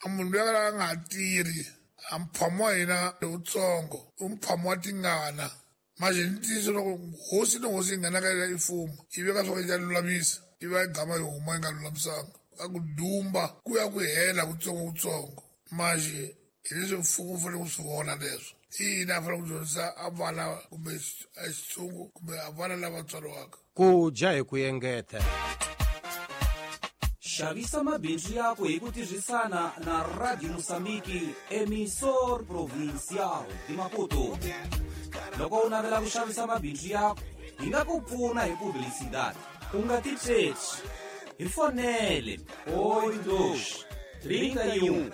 a munhu loyi a nga ha tirhi a mphamo wa hina lowutsongo i mphamo wa tingana. Manje ni ntiyiso loko hosi ni hosi yi nghenaka yi fuma yi veka swa ku yi ta lulamisa yi va yi gama yi huma yi nga lulamisanga ka ku dumba ku ya ku hela kutsongo kutsongo. Manje hi leswi mfumo wu fanele ku swi vona leswo i yini a fanele ku dyondzisa a vana kumbe a xitshungu kumbe a vana lava tswariwaka ku dya hi ku engeta. Xavisa mabindzu yako hi ku tirhisana na Radio Mozambique, emissor provincial de Maputo. Loko u navela ku xavisa mabindzu yako, hi nga ku pfuna hi publicidade. U nga titsheti, hi fonele oito dois, trinta e um,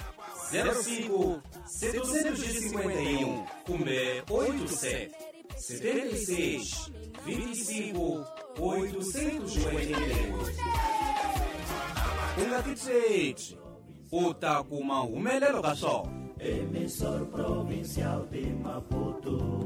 zero cinco, setecentos e cinquenta e um kumbe oito sete, setenta e seis, vinte e cinco, oitocentos e oitenta e oito. U nga titsheti, u ta kuma humelelo ka swona. Emissor provincial de Maputo.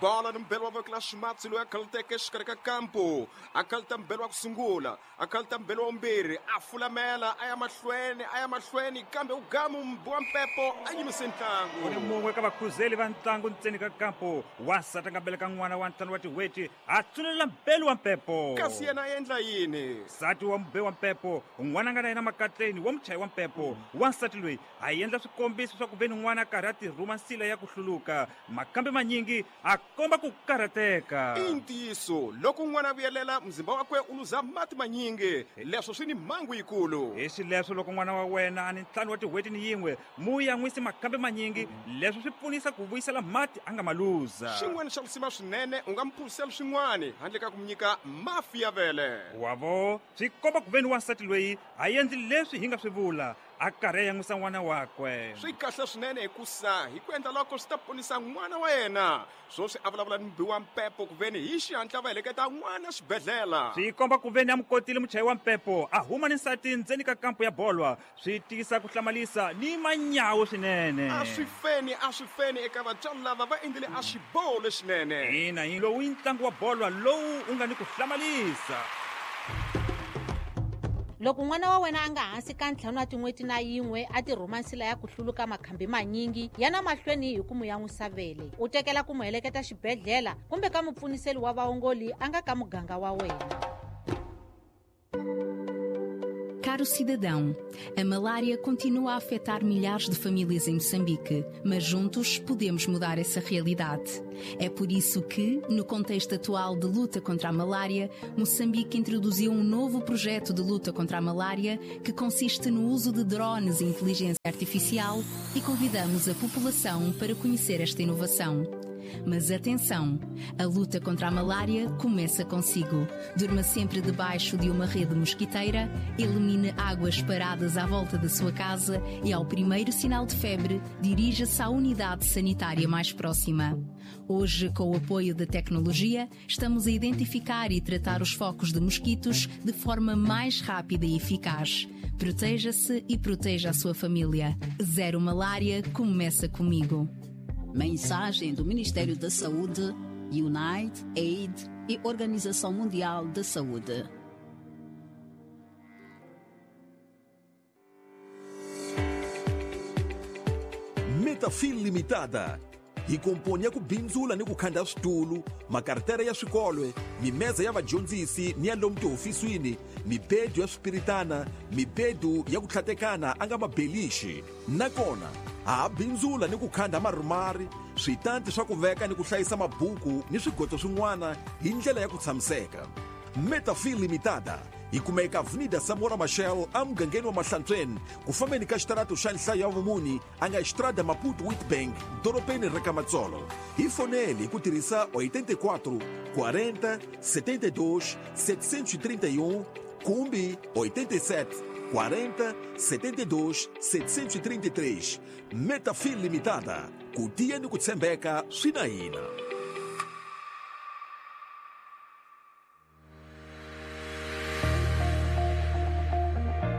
Bola ni mbelo wa voko la ximatsi loyi a khaluteke exikarhi ka kampo a khaluta mbelo wa ku sungula a khaluta mbelo wa vumbirhi a fulamela a ya mahlweni a ya mahlweni kambe u gamu wa mpepo a yimise ntlangu. U ni mun'we ka vakhuzeli va ntlangu ntseni ka kampo wansati a nga beleka n'wana wa ntlhanu wa tin'hweti a tsulela mbelo wa mpepo. Kasi yena a endla yini? Nsati wa mube wa mpepo n'wana a nga na yena makatleni wa muchayi wa mpepo wansati loyi a endla swikombiso swa ku ve ni n'wana a karhi a tirhuma nsila ya ku hluluka makambe manyingi a komba ku karhateka. I ntiyiso loko n'wana a vuyelela muzimba wakwe u luza mati manyingi leswo swi ni mhangu yikulu. Hi xileswo loko n'wana wa wena a ni ntlhanu wa tin'hweti ni yin'we mu yan'wisi makambe manyingi leswo swi pfunisa ku vuyisela mati a nga ma luza. Xin'wana xa risima swinene u nga mi phuzisela swin'wana handle ka ku mi nyika mafi ya vele. Wavo swi komba ku ve ni wansati loyi a endli leswi hi nga swi vula a karhi a yan'wisa n'wana wakwe. Swi kahle swinene hikusa hi ku endla loko swi ta ponisa n'wana wa yena. Swoswi a vulavula ni mubi wa mpepo ku veni hi xihatla va heleketa n'wana xibedhlele. Swi komba ku veni a mu kotile muchayi wa mpepo a huma ni nsati ndzeni ka kampo ya bolwa swi tiyisa ku hlamalisa ni manyawo swinene. A swi feni a swi feni eka vatswari lava va endlile a xiboho lexinene. Ina hi lowu i ntlangu wa bolwa lowu u nga ni ku hlamalisa. Loko n'wana wa wena a nga hansi ka ntlhanu wa tin'hweti na yin'we a tirhuma nsila ya ku hluluka makhambi manyingi ya na mahlweni hi ku mu yan'wisa vele u tekela ku mu heleketa xibedhlele kumbe ka mupfuniseli wa vaongoli a nga ka muganga wa wena. Caro cidadão, a malária continua a afetar milhares de famílias em Moçambique, mas juntos podemos mudar essa realidade. É por isso que, no contexto atual de luta contra a malária, Moçambique introduziu um novo projeto de luta contra a malária que consiste no uso de drones e inteligência artificial e convidamos a população para conhecer esta inovação. Mas atenção, a luta contra a malária começa consigo. Durma sempre debaixo de uma rede mosquiteira, elimine águas paradas à volta da sua casa e, ao primeiro sinal de febre, dirija-se à unidade sanitária mais próxima. Hoje, com o apoio da tecnologia, estamos a identificar e tratar os focos de mosquitos de forma mais rápida e eficaz. Proteja-se e proteja a sua família. Zero Malária começa comigo. Mensagem do Ministério da Saúde, Unite, Aid e Organização Mundial da Saúde. Metafil Limitada hi komponi ya ku bindzula ni ku khanda switulu, makartera ya swikolwe, mimeza ya vadyondzisi ni ya lomu tihofisini, mibedu ya swipiritana, mibedu ya ku tlhatekana a nga mabelixi. Nakona ha bindzula ni ku khanda marumari, switanti swa ku veka ni ku hlayisa mabuku ni swigoto swin'wana hi ndlela ya ku tshamiseka. Metafil Limitada hi kumeka Avenida Samora Machel emugangeni wa Mahlantsweni, ku fambeni ka xitarato xa nhlayo ya vumuni a nga Estrada Maputo Witbank, dorobeni ra ka Matsolo. Hi foneli hi ku tirhisa oitenta e quatro quarenta setenta e dois setecentos e trinta e um kumbe oitenta e sete quarenta setenta e dois setecentos e trinta e três. Metafil Limitada, ku tiya ni ku tshembeka swi na hina.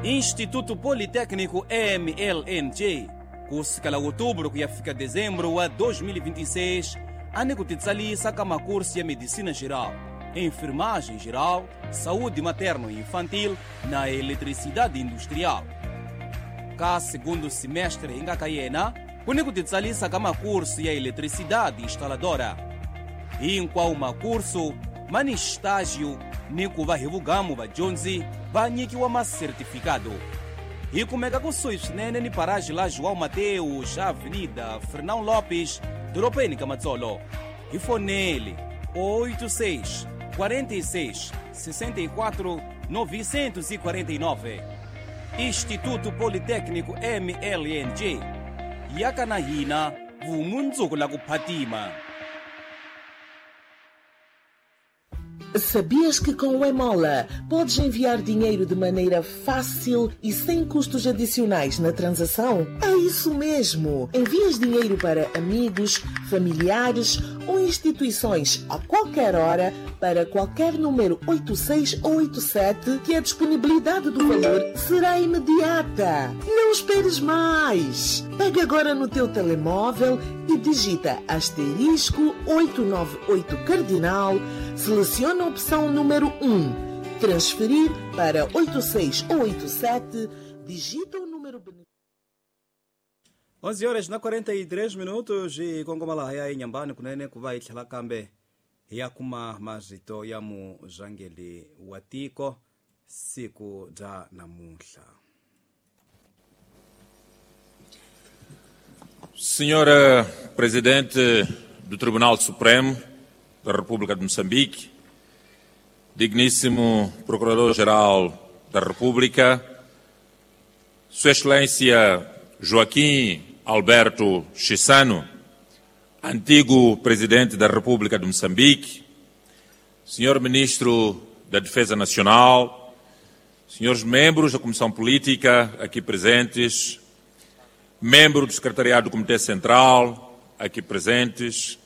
Instituto Politécnico M L N J, kusukela outubro ku ya fika dezembro wa dois mil e vinte e seis, a ni ku titsalisa ka makurso ya medicina geral, enfermagem geral, saúde materno e infantil na eletricidade industrial. Ka segundo semestre hi nga ka yena, ku ni ku titsalisa ka makurso ya eletricidade instaladora. Hinkwawo makurso ma ni estágio ni ku va hi vugamu vadyondzi va nyikiwa masertifikado. Hi kumeka kusuhi swinene ni paraji la João Mateus, Avenida Fernão Lopes, dorobeni ka Matsolo. Hi fonele oitenta e seis quarenta e seis sessenta e quatro novecentos e quarenta e nove. Instituto Politécnico M L N J, yaka na hina vumundzuku la ku phatima. Sabias que com o Emola podes enviar dinheiro de maneira fácil e sem custos adicionais na transação? É isso mesmo! Envias dinheiro para amigos, familiares ou instituições a qualquer hora para qualquer número oitenta e seis ou oitenta e sete, que a disponibilidade do valor será imediata. Não esperes mais! Pega agora no teu telemóvel e digita asterisco oitocentos e noventa e oito cardinal, seleciona a opção número um, transferir para oitenta e seis ou oitenta e sete, digita o número onze horas na quarenta e três minutos e kongoma laha ya Inhambane kunene ku va hi tlhela kambe hi ya kuma marito ya murhangeri wa tiko siku bya namuntlha. Senhora Presidente do Tribunal Supremo da República de Moçambique, digníssimo Procurador-Geral da República, Sua Excelência Joaquim Alberto Chissano, antigo Presidente da República de Moçambique, Senhor Ministro da Defesa Nacional, senhores membros da Comissão Política aqui presentes, membro do Secretariado do Comitê Central aqui presentes,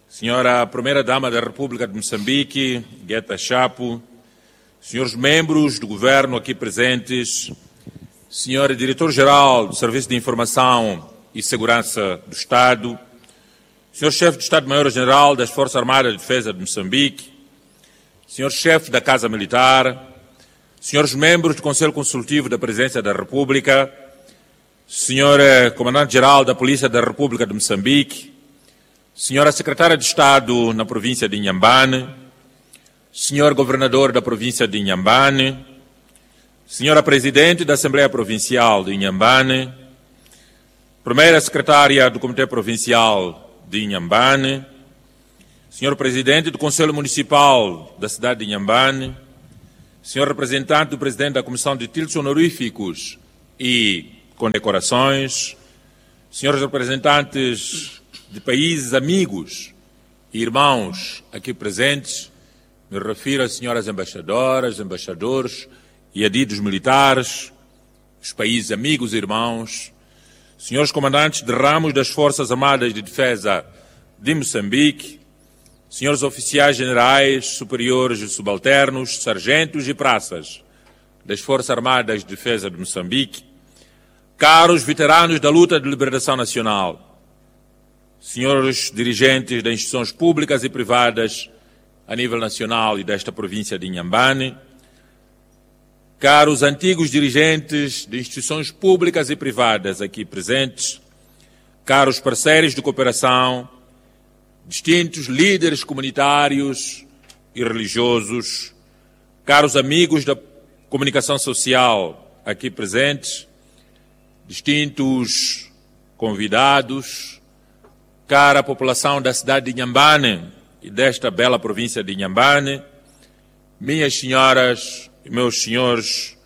Senhora Primeira-Dama da República de Moçambique, Gueta Chapo, senhores membros do Governo aqui presentes, Senhor Diretor-Geral do Serviço de Informação e Segurança do Estado, Senhor Chefe do Estado-Maior-General das Forças Armadas de Defesa de Moçambique, Senhor Chefe da Casa Militar, senhores membros do Conselho Consultivo da Presidência da República, Senhor Comandante-Geral da Polícia da República de Moçambique, Senhora Secretária de Estado na província de Inhambane, Senhor Governador da província de Inhambane, Senhora Presidente da Assembleia Provincial de Inhambane, Primeira Secretária do Comitê Provincial de Inhambane, Senhor Presidente do Conselho Municipal da cidade de Inhambane, Senhor Representante do Presidente da Comissão de Títulos Honoríficos e Condecorações, Senhores Representantes de países amigos e irmãos aqui presentes, me refiro às senhoras embaixadoras, embaixadores e adidos militares, os países amigos e irmãos, senhores comandantes de ramos das Forças Armadas de Defesa de Moçambique, senhores oficiais generais, superiores e subalternos, sargentos e praças das Forças Armadas de Defesa de Moçambique, caros veteranos da luta de libertação nacional, senhores dirigentes das instituições públicas e privadas a nível nacional e desta província de Inhambane, caros antigos dirigentes de instituições públicas e privadas aqui presentes, caros parceiros de cooperação, distintos líderes comunitários e religiosos, caros amigos da comunicação social aqui presentes, distintos convidados, cara população da cidade de Inhambane e desta bela província de Inhambane, minhas senhoras e meus senhores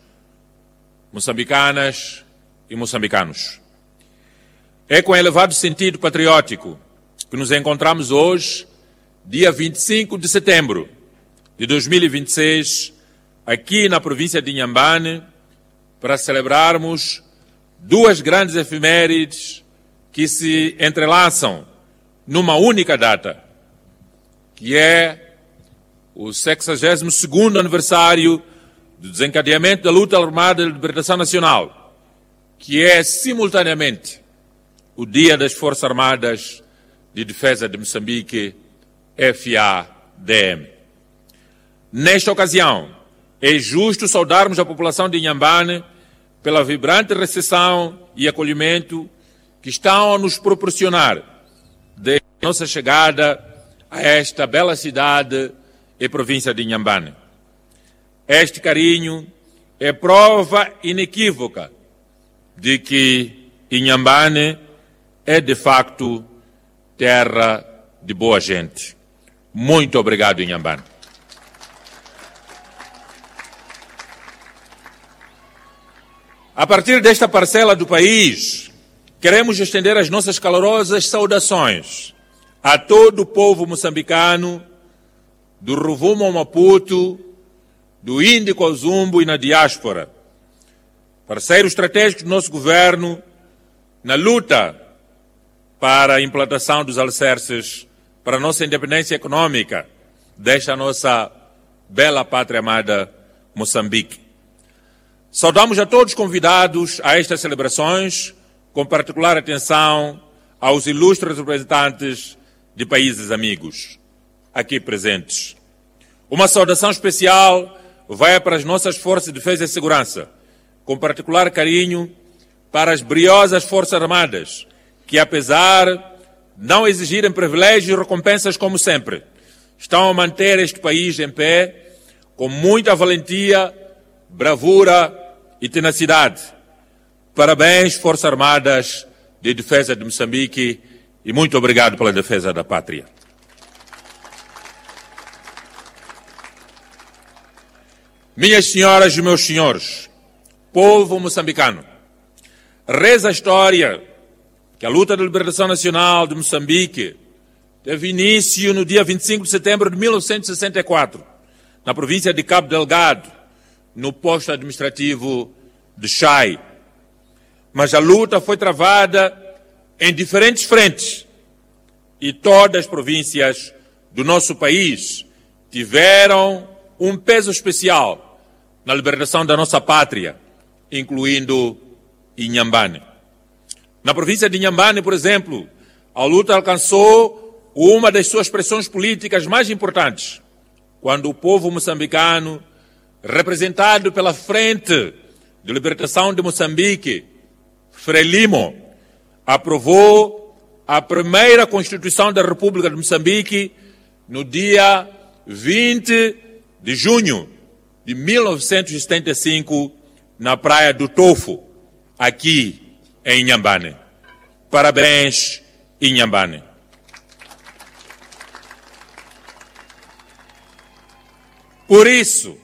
moçambicanas e moçambicanos. É com elevado sentido patriótico que nos encontramos hoje, dia vinte e cinco de setembro de dois mil e vinte e seis, aqui na província de Inhambane, para celebrarmos duas grandes efemérides que se entrelaçam numa única data, que é o sexagésimo segundo aniversário do desencadeamento da luta armada de libertação nacional, que é simultaneamente o Dia das Forças Armadas de Defesa de Moçambique, F A D M. Nesta ocasião, é justo saudarmos a população de Inhambane pela vibrante recepção e acolhimento que estão a nos proporcionar desde a nossa chegada a esta bela cidade e província de Inhambane. Este carinho é prova inequívoca de que Inhambane é, de facto, terra de boa gente. Muito obrigado, Inhambane. A partir desta parcela do país, queremos estender as nossas calorosas saudações a todo o povo moçambicano, do Rovuma ao Maputo, do Índico ao Zumbo e na diáspora, parceiro estratégico do nosso governo na luta para a implantação dos alicerces para a nossa independência econômica desta nossa bela pátria amada Moçambique. Saudamos a todos convidados a estas celebrações, com particular atenção aos ilustres representantes de países amigos aqui presentes. Uma saudação especial vai para as nossas Forças de Defesa e Segurança, com particular carinho para as briosas Forças Armadas, que apesar de não exigirem privilégios e recompensas como sempre, estão a manter este país em pé com muita valentia, bravura e tenacidade. Parabéns, Forças Armadas de Defesa de Moçambique, e muito obrigado pela defesa da pátria. Minhas senhoras e meus senhores, povo moçambicano, reza a história que a luta de libertação nacional de Moçambique teve início no dia vinte e cinco de setembro de mil novecentos e sessenta e quatro, na província de Cabo Delgado, no posto administrativo de Xai. Mas a luta foi travada em diferentes frentes e todas as províncias do nosso país tiveram um peso especial na libertação da nossa pátria, incluindo Inhambane. Na província de Inhambane, por exemplo, a luta alcançou uma das suas expressões políticas mais importantes, quando o povo moçambicano, representado pela Frente de Libertação de Moçambique, Frelimo, aprovou a primeira Constituição da República de Moçambique no dia vinte de junho de mil novecentos e setenta e cinco, na Praia do Tofo, aqui em Inhambane. Parabéns, Inhambane. Por isso,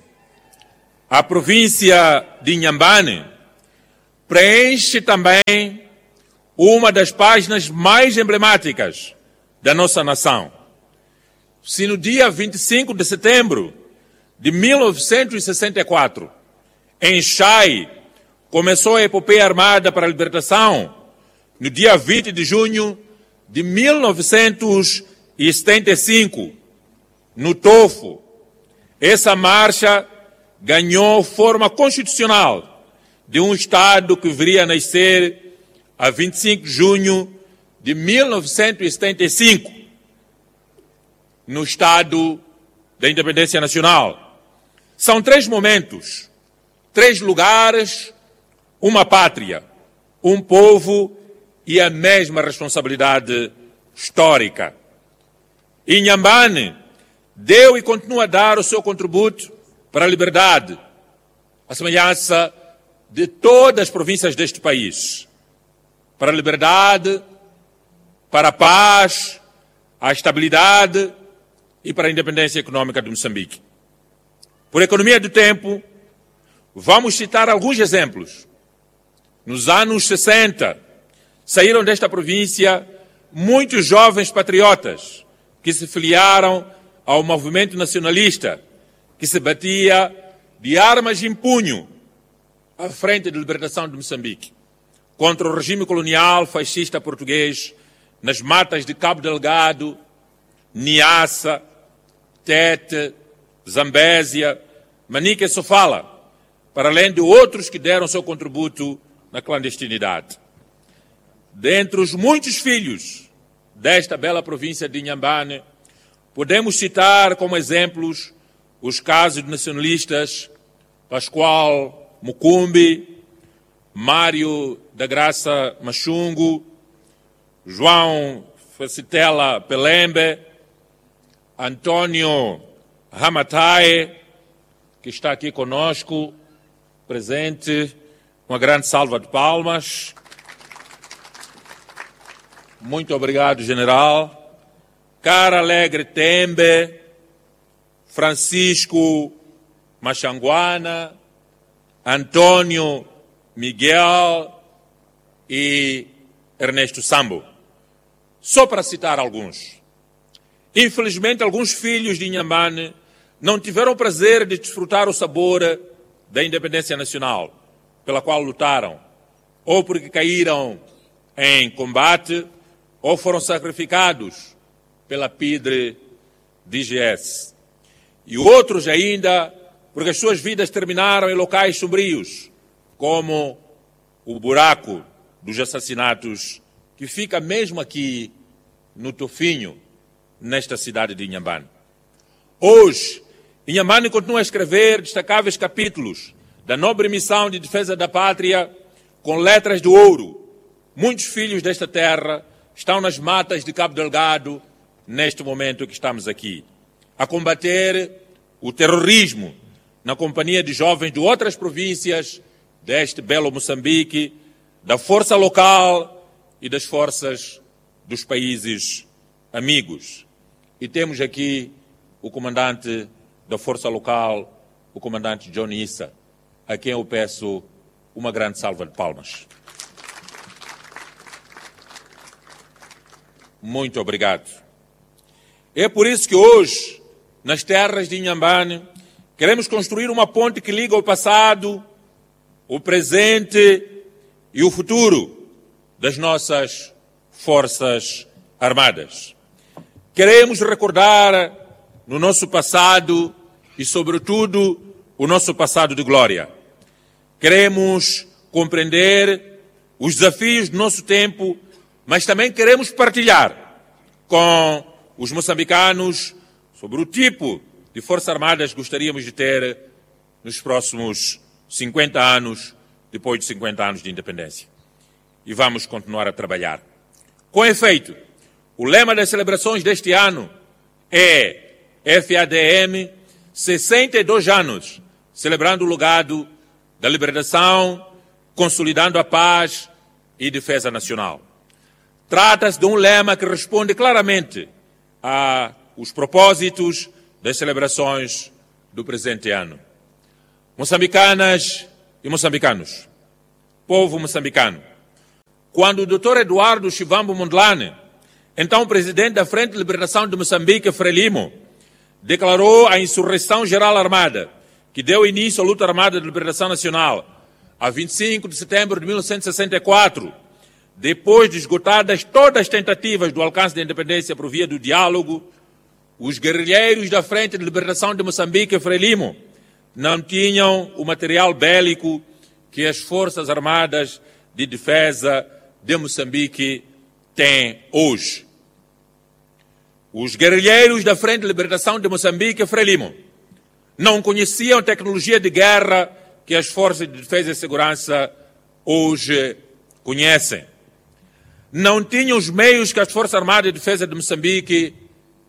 a província de Inhambane preenche também uma das páginas mais emblemáticas da nossa nação. Se no dia vinte e cinco de setembro de mil novecentos e sessenta e quatro, em Xai, começou a epopeia armada para a libertação, no dia vinte de junho de mil novecentos e setenta e cinco, no Tofo, essa marcha ganhou forma constitucional de um Estado que viria a nascer a vinte e cinco de junho de mil novecentos e setenta e cinco, no Estado da Independência Nacional. São três momentos, três lugares, uma pátria, um povo e a mesma responsabilidade histórica. Inhambane deu e continua a dar o seu contributo para a liberdade, à semelhança de todas as províncias deste país. Para a liberdade, para a paz, a estabilidade e para a independência econômica de Moçambique. Por economia do tempo, vamos citar alguns exemplos. Nos anos sessenta, saíram desta província muitos jovens patriotas que se filiaram ao movimento nacionalista, que se batia de armas em punho à frente da libertação de Moçambique, contra o regime colonial fascista português nas matas de Cabo Delgado, Niassa, Tete, Zambésia, Manica e Sofala, para além de outros que deram seu contributo na clandestinidade. Dentre os muitos filhos desta bela província de Inhambane, podemos citar como exemplos os casos de nacionalistas Pascoal Mucumbi, Mário da Graça Machungo, João Facitela Pelembe, Antônio Ramatae, que está aqui conosco, presente, uma grande salva de palmas. Muito obrigado, general. Cara Alegre Tembe, Francisco Machanguana, Antônio Miguel e Ernesto Sambo. Só para citar alguns. Infelizmente, alguns filhos de Inhambane não tiveram o prazer de desfrutar o sabor da independência nacional, pela qual lutaram, ou porque caíram em combate, ou foram sacrificados pela P I D R D G S. E outros ainda, porque as suas vidas terminaram em locais sombrios, como o buraco dos assassinatos, que fica mesmo aqui no Tofinho, nesta cidade de Inhambane. Hoje, Inhambane continua a escrever destacáveis capítulos da nobre missão de defesa da pátria com letras de ouro. Muitos filhos desta terra estão nas matas de Cabo Delgado, neste momento que estamos aqui, a combater o terrorismo na companhia de jovens de outras províncias deste belo Moçambique, da força local e das forças dos países amigos. E temos aqui o comandante da força local, o comandante John Issa, a quem eu peço uma grande salva de palmas. Muito obrigado. É por isso que hoje, nas terras de Inhambane, queremos construir uma ponte que liga o passado, o presente e o futuro das nossas Forças Armadas. Queremos recordar no nosso passado e, sobretudo, o nosso passado de glória. Queremos compreender os desafios do nosso tempo, mas também queremos partilhar com os moçambicanos sobre o tipo de Forças Armadas que gostaríamos de ter nos próximos cinquenta anos, depois de cinquenta anos de independência. E vamos continuar a trabalhar. Com efeito, o lema das celebrações deste ano é F A D M, sessenta e dois anos, celebrando o legado da libertação, consolidando a paz e defesa nacional. Trata-se de um lema que responde claramente aos propósitos das celebrações do presente ano. Moçambicanas e moçambicanos, povo moçambicano, quando o doutor Eduardo Chivambo Mondlane, então presidente da Frente de Libertação de Moçambique, Frelimo, declarou a insurreição geral armada, que deu início à luta armada de libertação nacional, a vinte e cinco de setembro de mil novecentos e sessenta e quatro, depois de esgotadas todas as tentativas do alcance da independência por via do diálogo, os guerrilheiros da Frente de Libertação de Moçambique, Frelimo, não tinham o material bélico que as Forças Armadas de Defesa de Moçambique têm hoje. Os guerrilheiros da Frente de Libertação de Moçambique, Frelimo, não conheciam a tecnologia de guerra que as Forças de Defesa e Segurança hoje conhecem. Não tinham os meios que as Forças Armadas de Defesa de Moçambique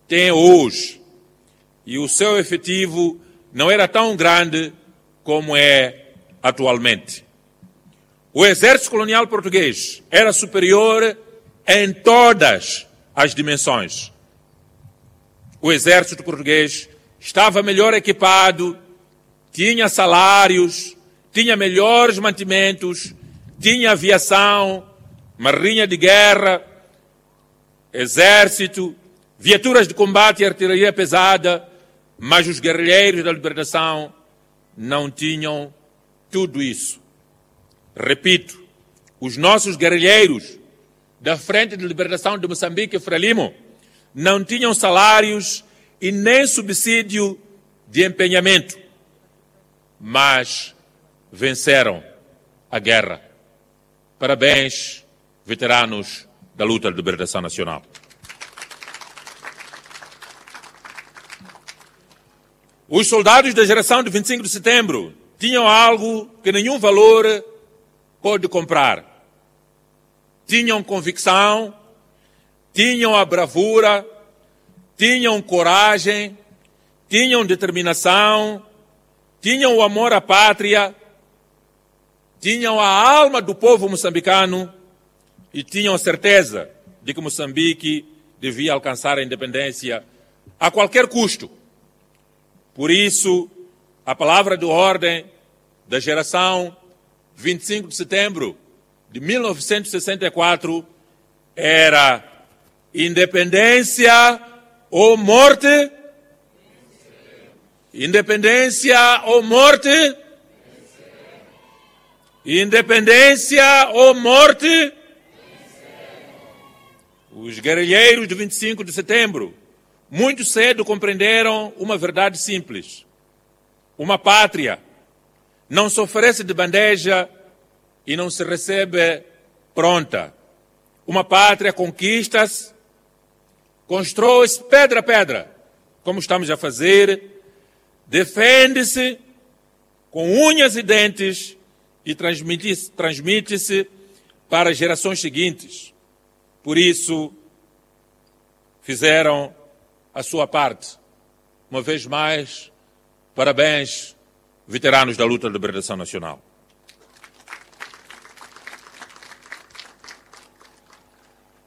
têm hoje. E o seu efetivo não era tão grande como é atualmente. O exército colonial português era superior em todas as dimensões. O exército português estava melhor equipado, tinha salários, tinha melhores mantimentos, tinha aviação, marinha de guerra, exército, viaturas de combate e artilharia pesada, mas os guerrilheiros da libertação não tinham tudo isso. Repito, os nossos guerrilheiros da Frente de Libertação de Moçambique, Frelimo, não tinham salários e nem subsídio de empenhamento, mas venceram a guerra. Parabéns, veteranos da luta de libertação nacional. Os soldados da geração de vinte e cinco de setembro tinham algo que nenhum valor pôde comprar. Tinham convicção, tinham a bravura, tinham coragem, tinham determinação, tinham o amor à pátria, tinham a alma do povo moçambicano e tinham a certeza de que Moçambique devia alcançar a independência a qualquer custo. Por isso, a palavra de ordem da geração vinte e cinco de setembro de mil novecentos e sessenta e quatro era independência ou morte. Independência ou morte. Independência ou morte. Os guerrilheiros de vinte e cinco de setembro muito cedo compreenderam uma verdade simples. Uma pátria não se oferece de bandeja e não se recebe pronta. Uma pátria conquista-se, constrói-se pedra a pedra, como estamos a fazer, defende-se com unhas e dentes e transmite-se, transmite-se para as gerações seguintes. Por isso, fizeram a sua parte. Uma vez mais, parabéns, veteranos da luta de libertação nacional.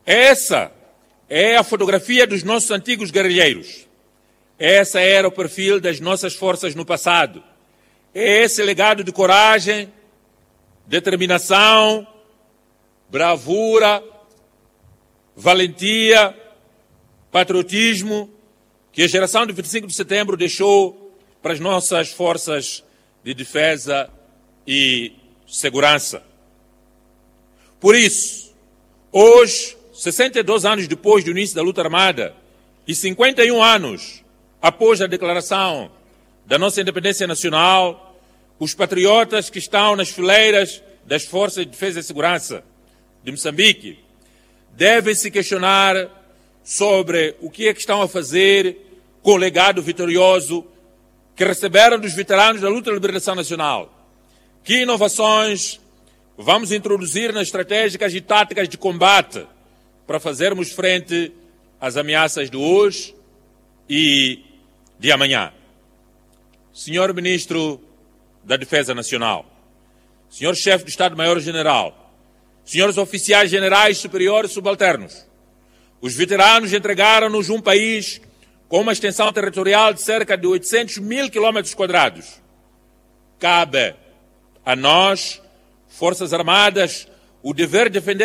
Essa é a fotografia dos nossos antigos guerrilheiros. Essa era o perfil das nossas forças no passado. É esse legado de coragem, determinação, bravura, valentia, patriotismo que a geração de vinte e cinco de setembro deixou para as nossas forças de defesa e segurança. Por isso, hoje, sessenta e dois anos depois do início da luta armada e cinquenta e um anos após a declaração da nossa independência nacional, os patriotas que estão nas fileiras das Forças de Defesa e Segurança de Moçambique devem se questionar sobre o que é que estão a fazer com o legado vitorioso que receberam dos veteranos da luta de libertação nacional. Que inovações vamos introduzir nas estratégicas e táticas de combate para fazermos frente às ameaças de hoje e de amanhã. Senhor Ministro da Defesa Nacional, Senhor Chefe do Estado-Maior-General, senhores oficiais generais superiores e subalternos, os veteranos entregaram-nos um país com uma extensão territorial de cerca de oitocentos mil quilômetros quadrados. Cabe a nós, Forças Armadas, o dever de defender